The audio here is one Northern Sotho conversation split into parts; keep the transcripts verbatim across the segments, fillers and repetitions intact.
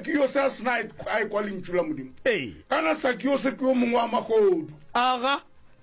Sakiose a sena a ekwa lentšu la Modimo? Ee. Kana Sakiose ke yo mongwe wa mahodu. Aga.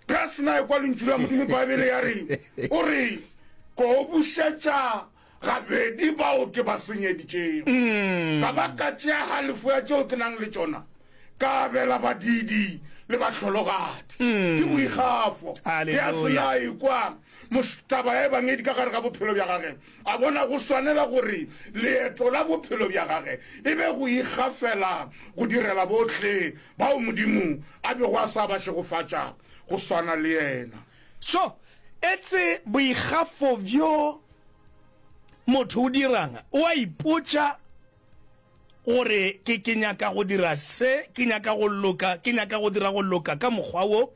Ge a sena a ekwa lentšu la Modimo, Baebele ya re, o re, Ko bušetša gabedi bao ke ba senyeditšego, ka ba ka tšea halefo ya tšeo ke nang le tšona, ka abela badiidi le bahlologadi. Ke boikgafo. Ge a sena a ekwa taba ya Ebangedi ka gare ga bophelo bja gage, a bona go swanela gore leeto la bophelo bja gage e be go ikgafela go direla bohle bao Modimo a bego a sa ba šegofatša go swana le yena. So, etse boikgafo bjo motho o dirang, o a ipotša gore ke, ke nyaka go dira se, ke nyaka go loka, ke nyaka go dira go loka ka mokgwa wo.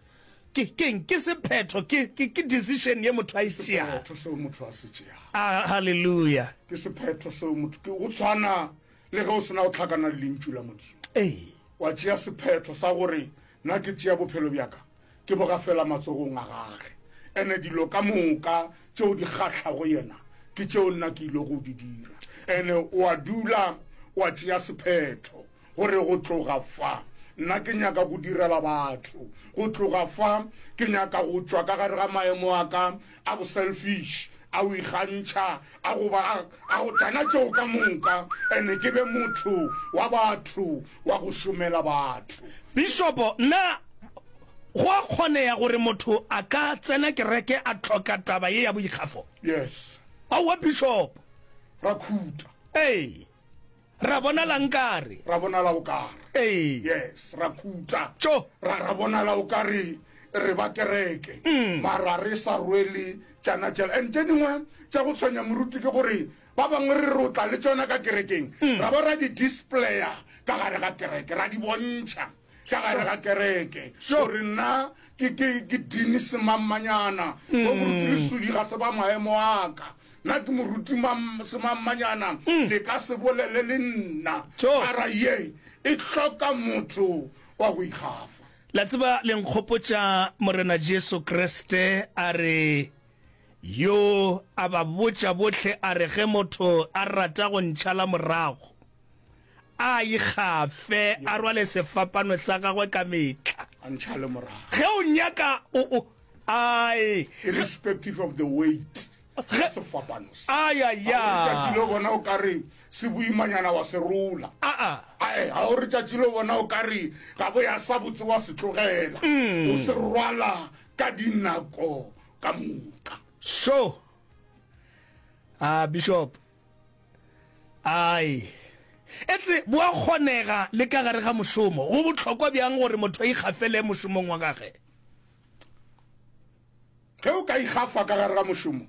Ke, ke'ng? Ke sephetho, ke, ke, ke decision ye motho a e tšeago. Sephetho seo motho a se tšeago. Ah, haleluya. Ke sephetho seo motho, ke go tshwana le ge o se na go hlakana le Lentšu la Modimo. Ee. Wa tšea sephetho sa gore, Nna ke tšea bophelo bja ka, ke bo gafela matsogong a Gage. Ene dilo ka moka tšeo di kgahlago Yena, ke tšeo nna ke ile go di dira. Ene o a dula wa tšea sephetho. Gore go tloga fa, nna ke nyaka go direla batho. Go tloga fa, ke nyaka go tšwa ka gare ga maemo a ka a boselfish, a go ikgantšha, a go ba, a, a go tana tšeo ka moka, ene ke be motho wa batho, wa go šomela batho. Bishopo, na go a kgonega gore motho a ka tsena kereke a hloka taba ye ya boikgafo? Yes. Aowa, Bishopo. Ra khuta. Ee. Ra bonala nkare. Ra bonala o kare. Ee. Yes, ra khuta. Tšo. Ra, ra bonala o kare re ba kereke. Mm. Mara re sa rwele tšana tšela. And tše dingwe tša go tshwenya moruti ke gore ba bangwe re rotla le tšona ka kerekeng. Mm. Ra ba ra di displaya ka gare ga kereke, ra di bontšha ka gare ga kereke. Gore nna ke, ke, ke dini semammanyana. Mm. Bo moruti Lesudi ga se ba maemo a ka. Nna ke moruti semammanyana, le ka se bolele le nna. Mara ye e hloka motho wa go ikgafa. La tseba, le nkgopotša Morena Jesu Kriste a re, Yo a ba botša bohle a re, ge motho a rata go ntšhala morago, a ikgafe, a rwale sefapano sa gagwe ka mehla. A ntšhale morago. Ge o nyaka, o, o, ai. Irrespective of the weight. Ge sefapano se. Ai, ai, a. Ga o re tšatši le bona o ka re se boimanyana wa se rola. Aa. Ae, ga o re tšatši le bona o ka re ga bo ya sa botse wa se tlogela. O se rwala ka dinako ka moka. So. Ah, Bishop. Ai. Etse, bo a kgonega le ka gare ga mošomo. Go bohlokwa bjang gore motho a ikgafele mošomong wa gage? Ge o ka ikgafa ka gare ga mošomo,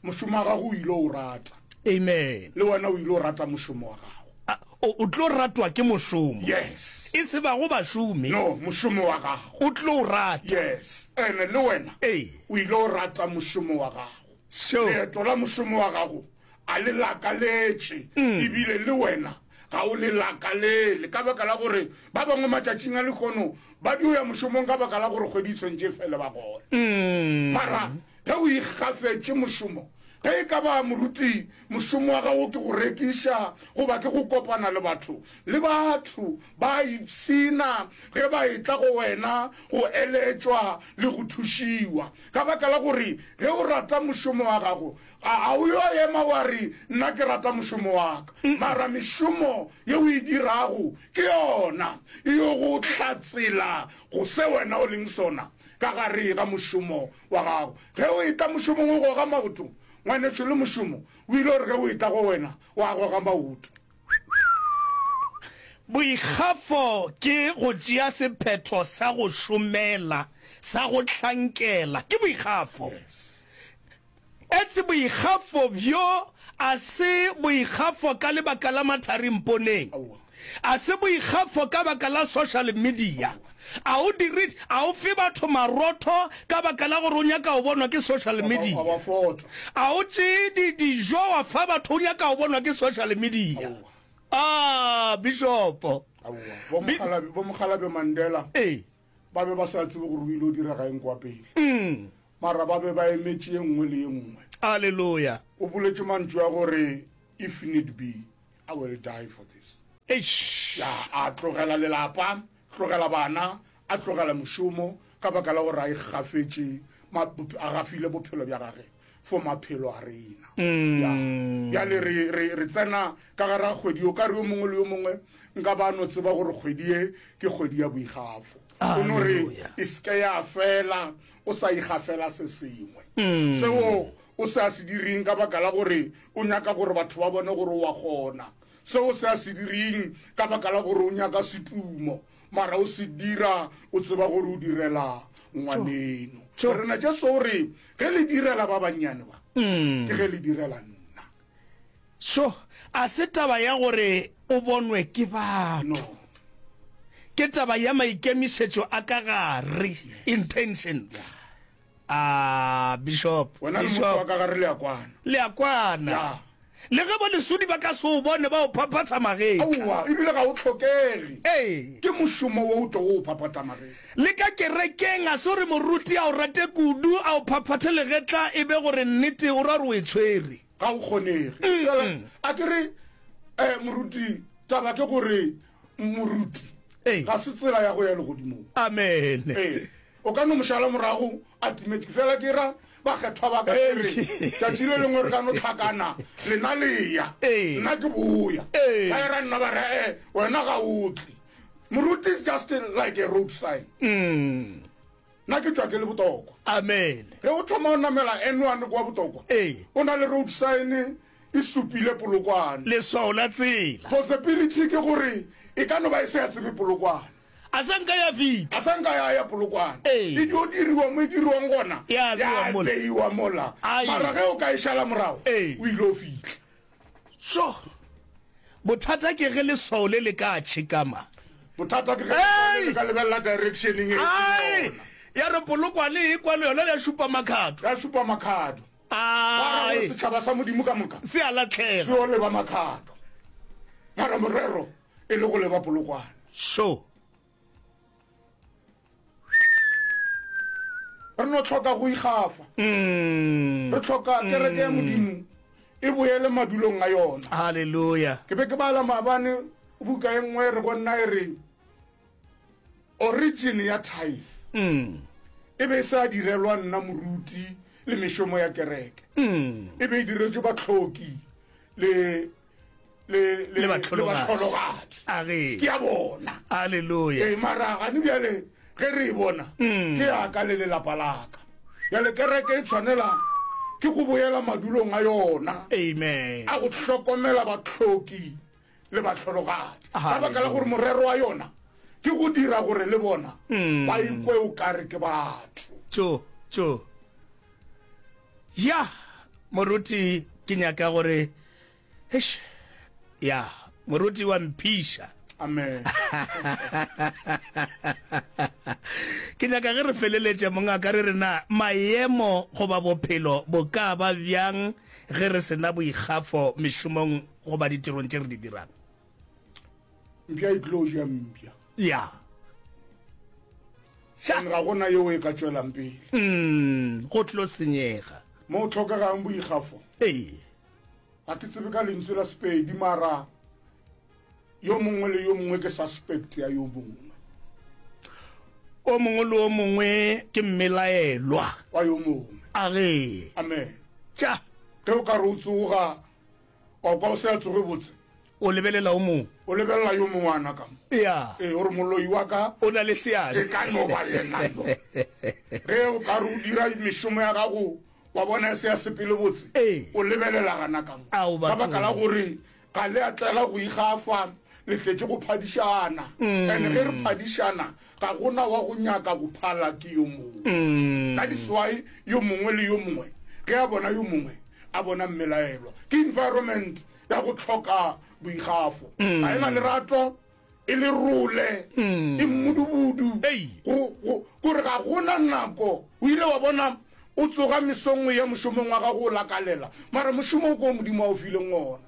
mošomo wa gago o ile o rata. Amen. Le wena o ile o rata mošomo wa gago. O, o tlo ratwa ke mošomo. Yes. E se bago bašomi. No, mošomo wa gago. O tlo o rata. Yes. Ene le wena. Ee. O ile o rata mošomo wa gago. Sure. Leeto la mošomo wa gago a le lakaletše, ebile le wena ga o le lakalele, ka baka la gore ba bangwe matšatšing a lehono ba dio ya mošomong ka baka la gore kgwedi e tshwanetše e fele ba gole. Mara ge o ikgafetše mošomo, ge e ka ba moruti, mošomo wa gago ke go rekiša goba ke go kopana le batho, le batho ba a ipshina ge ba etla go wena go eletšwa le go thušiwa, ka baka la gore ge o rata mošomo wa gago, A a o yo ema wa re, Nna ke rata mošomo wa ka? Mara mešomo ye o e dirago ke yona e yo go hlatsela go se wena o leng sona ka gare ga mošomo wa gago. Ge o etla mošomong o goga maoto, ngwanešo, le mošomo o ile gore ge o etla go wena wa goga maoto. Boikgafo ke go tšea sephetho sa go šomela, sa go hlankela. Ke boikgafo. Etse boikgafo bjo a se boikgafo ka lebaka la mathari mponeng. A se boikgafo ka baka la social media. A o dire, a o fe batho marotho ka baka la gore o nyaka go bonwa ke social media. A o tšee di, dijo wa fa batho o nyaka go bonwa ke social media. Ah, Bishopo. Aowa. Bo Mokgalabje Mandela. Ee. Ba be ba sa tsebe gore o ile o direga eng kwa pele. Mara ba be ba emetše ye nngwe le ye nngwe. Aleluya. O boletše mantšu a gore, If need be, I will die for this. Eish. Ya, a tlogela lelapa, tlogela bana, a tlogela mošomo ka baka la gore a ikgafetše, a gafile bophelo bja gage for maphelo a rena. Ya, bjale re, re, re tsena ka gare ga kgwedi, o ka re yo mongwe le yo mongwe nka ba no tseba gore kgwedi ye ke kgwedi ya boikgafo. O no re e se ke ya fela o sa ikgafela se sengwe. Seo o se a se direng ka baka la gore o nyaka gore batho ba bone gore o a kgona. Seo se a se direng ka baka la gore o nyaka setumo, mara o se dira o tseba gore o direla ngwaneno. Rena Jesu o re ge le direla ba bannyane ba, ke ge le direla nna. So a se taba ya gore o bonwe ke batho. No. Ke taba ya maikemišetšo a ka gare, intentions. Ah, Bishop, Wena le motho wa ka gare le a kwana. Le a kwana. Ya. Le ge bolesodi ba ka se o bone ba o phaphatha magetla. Aowa, ebile ga o hlokege. Ee. Ke mošomo wo o tlogo o phaphatha magetla. Le ka kerekeng a se gore moruti a o rate kudu a o phaphathe legetla e be gore nnete o ra gore o e tshwere. Ga o kgonege. Bjale a ke re, eh, moruti, taba ke gore moruti Ee. ga se tsela ya go ya legodimong. Amen. Ee. O ka no mo šala morago a timetše, fela ke ra bakgethwa ba ka ke re, tšatši le lengwe re ka no hlakana, lena le ya, nna ke boya. Ba ya ra nna ba re, eh, wena ga o tle. Moruti is just like a road sign. Nna ke tšwa ke le Botokwa. Amen. Ge o thoma o namela N one kwa Botokwa, o na le road sign e supile Polokwane. Leswao la tsela. Possibility ke gore e ka no ba e se ya tsebe Polokwane. A sa nka ya fihla. A sa nka ya ya Polokwane. Ee. E dio diriwa mo e diriwang gona. Ya beiwa mola. Ya beiwa mola. Ai. Mara ge o ka e šala morago, Ee. o ile o fihla. So, bothata ke ge leswao le le ka tšhekama. Bothata ke ge leswao le le ka lebelela directioneng e seng Ai! yona. Ya re Polokwane e kwa le yona ya šupa Makhado. Ya šupa Makhado. Ba ra gore Ai! setšhaba sa Modimo ka moka Se a lahlega. se yo leba Makhado. Mara morero e le go leba Polokwane. So. Re no hloka go ikgafa. Mm. Re hloka kereke ya Modimo e boele madulong a yona. Hallelujah. Ke be ke bala maabane buka e nngwe re go nna e re origin ya tithe. Mm. E be e sa direlwa nna moruti le mešomo ya kereke. Mm. E be e diretswe bahloki le le Le bahlologadi. A re. Ke ya bona. Hallelujah. Ee, mara gane bjale ge re e bona, ke ya ka le lelapa la ka. Bjale kereke e tshwanela ke go boela madulong a yona. Amen. A go hlokomela bahloki le bahlologadi. Ka baka la gore morero wa yona ke go dira gore le bona ba ikwe o kare ke batho. Tšo, tšo. Ya, moruti, ke nyaka gore, eish, ya, moruti wa mphiša. Amen. Ke nyaka ge re feleletše, mongaka, re re na maemo goba bophelo bo ka ba bjang ge re se na boikgafo mešomong goba ditirong tše re di dirang? Mpša e tlo ja mpša. Ya. And ga gona yeo e ka tšwelang pele. Mm, go tlo senyega. Mo o hlokegang boikgafo. Ee. Ga ke tsebe ka lentswe la Sepedi, mara yo mongwe le yo mongwe ke suspect ya yo mongwe. O mongwe le o mongwe ke mmelaelwa wa yo mongwe. A ge. Amen. Tša. Ge o ka re o tsoga, wa kwa o se a tsoge botse. O lebelela o mongwe. O lebelela yo mongwe ana ka mo. Ya. Ee, o re moloi wa ka o na le seabe. E ka no ba yena yo. Ge o ka re o dira mešomo ya gago, wa bona e se ya sepele botse. Ee. O lebelela gana ka mo. Ao, Ka baka la bathong. gore ga le a tlela go ikgafa, le tletše go phadišana. Mm. And ge re phadišana, ga gona wa go nyaka go phala ke yo mongwe. Mm. That is why yo mongwe le yo mongwe ge a bona yo mongwe a bona mmelaelwa. Ke environment ya go hloka boikgafo. Mm. Ga e na lerato, e le role, Mm. e mmudubudu. Ei. Go, go, gore ga gona nako. O ile wa bona o tsoga mesong o ya mošomong wa gago o lakalela, mara mošomo o ko Modimo a o fileng ona.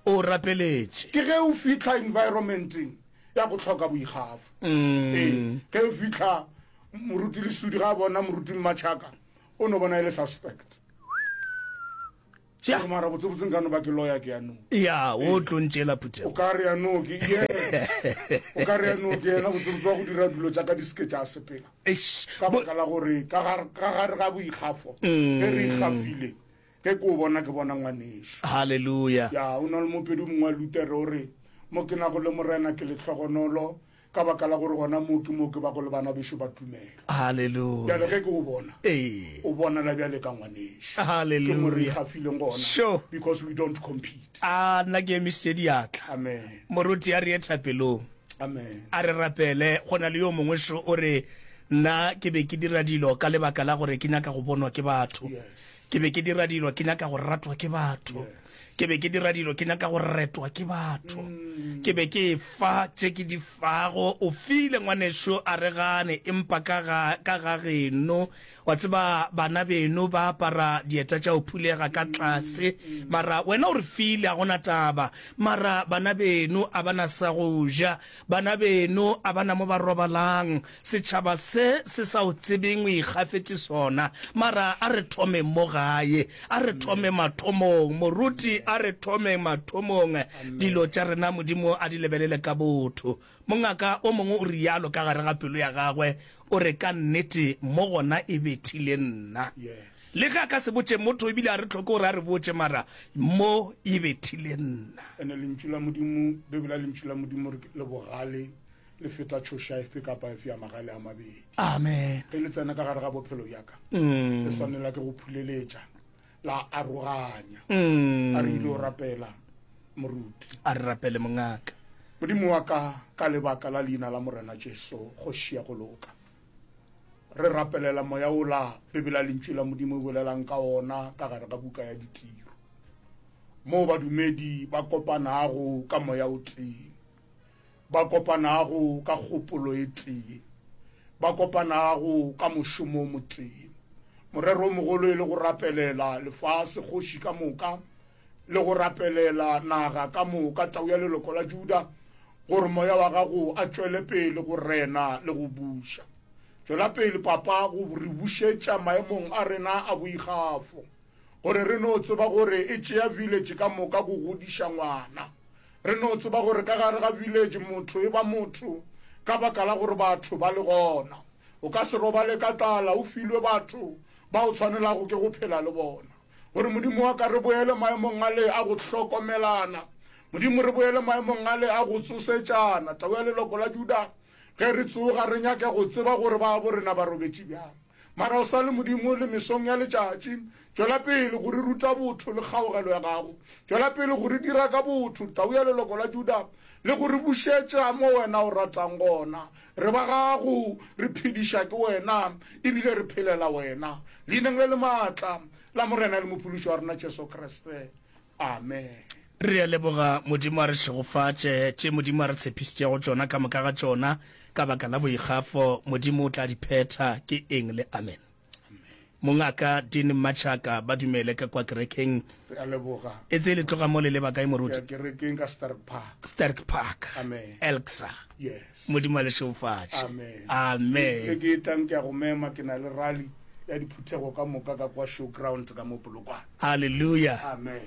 O rapeletše. Ke ge o fihla environmenteng ya go hloka boikgafo. Mm. Ee, ge o fihla moruti Lesudi ga a bona moruti Mmatšhaka, o no bona e le suspect. Ja. Gore mara botsebotse nka no ba ke loya ke yanong. Ya, o tlo ntšeela O phuthego. ka re yanong ke yes. O ka re yanong ke yena botsebotse wa go dira dilo tša ka di seke tša sepela. Eish. Ka Bo- baka la gore ka gare ka gare ga boikgafo ge re ikgafile ge ke o bona ke bona ngwanešo. Hallelujah. Ya, o na le mopedi o mongwe wa Lutere o re mo ke nago le Morena ke lehlogonolo ka baka la gore gona moo ke moo ke bago le bana bešo ba tumelo. Hallelujah. Bjale ge ke o bona Ee. o bonala bjale ka ngwanešo. Ke mo re Hallelujah. ikgafileng gona Sure. because we don't compete. A nna ke emišitše diatla. Amen. Moruti a re ye thapelong. Amen. A re rapele. Go na le yo mongwe šo o re nna ke be ke dira dilo ka lebaka la gore ke nyaka go bonwa ke batho. Yes. Ke be ke dira dilo ke nyaka go ratwa ke batho. Yes. Ke be ke dira dilo ke nyaka go retwa ke batho. Ke be ke fa tše ke di fago. O file ngwanešo a re gane empa ka ga ka ga geno wa tseba bana beno ba apara dieta tša go phulega ka tlase mara wena o re file a gona taba mara bana beno a bana sa go ja bana beno a bana mo ba robalang setšhaba se se sa o tsebeng o ikgafetše sona mara a re thome mo gae a re thome mathomong moruti a re thome mathomong dilo tša rena Modimo a di lebelele ka botho mongaka o mongwe o rialo ka gare ga pelo ya gagwe o re ka nnete mo gona e bethile nna Yes. le ge a ka se botše motho ebile a re tlhoke gore a re botše mara mo e bethile nna Ene lentšu la Modimo, Bibele lentšu la Modimo re le bogale le feta tšhoša efe kapa efe ya magale a mabedi. Amen. Ge le tsena ka gare ga bophelo bja ka, le swanela ke go phuleletša la aroganya. A re ile o rapela moruti. A re rapele mongaka. Modimo wa ka ka lebaka la leina la Morena Jesu kgoši ya go loka. Re rapelela moya ola Bibele lentšu la Modimo e bolelang ka ona ka gare ga buka ya ditiro. Mo badumedi ba kopanago ka moya o tee, ba kopanago ka kgopolo e tee, ba kopanago ka mošomo o motee. Morero o mogolo e le go rapelela lefase kgoši ka moka le go rapelela naga ka moka tau ya leloko la Juda gore moya wa gago a tšwele pele go rena le go buša. Tšwela pele papa go re bušetša maemong a rena a boikgafo gore re no tseba gore e tšea village ka moka go godiša ngwana. Re no tseba gore ka gare ga village motho e ba motho ka baka la gore batho ba le gona. O ka se robale ka tlala o filwe batho ba o tshwanelago ke go phela le bona. Gore Modimo wa ka re boele maemong ale a go hlokomelana. Modimo re boele maemong ale a go tsosetšana. Tau ya leloko la Juda ge re tsoga re nyake go tseba gore ba bo rena ba robetše bjang. Mara o sa le Modimo le mesong ya letšatši. Tšwela pele go re ruta botho le kgaogelo ya gago. Tšwela pele go re dira ka botho tau ya leloko la Juda le go re bušetša mo wena o ratang gona. Re ba gago re phediša ke wena ebile re phelela wena. Leineng le le maatla la Morena le Mophološi wa rena Jesu Kriste. Amen. Re a leboga Modimo a re šegofatše tše Modimo a re tshepišitšego tšona ka moka ga tšona ka baka la boikgafo Modimo o tla di phetha ke eng le amen. Mongaka Dean Machaka ba dumele ka kwa kerekeng Re a leboga. e tse le tloga mo le leba kae moruti? Ke ya kerekeng ka Stark Park. Stark Park. Amen. Elksa. Yes. Modimo a le šegofatše. Amen. Amen. Le ke tlang ke a go mema ke na le rally ya diphuthego ka moka ka kwa showground ka mo Polokwane. Hallelujah. Amen.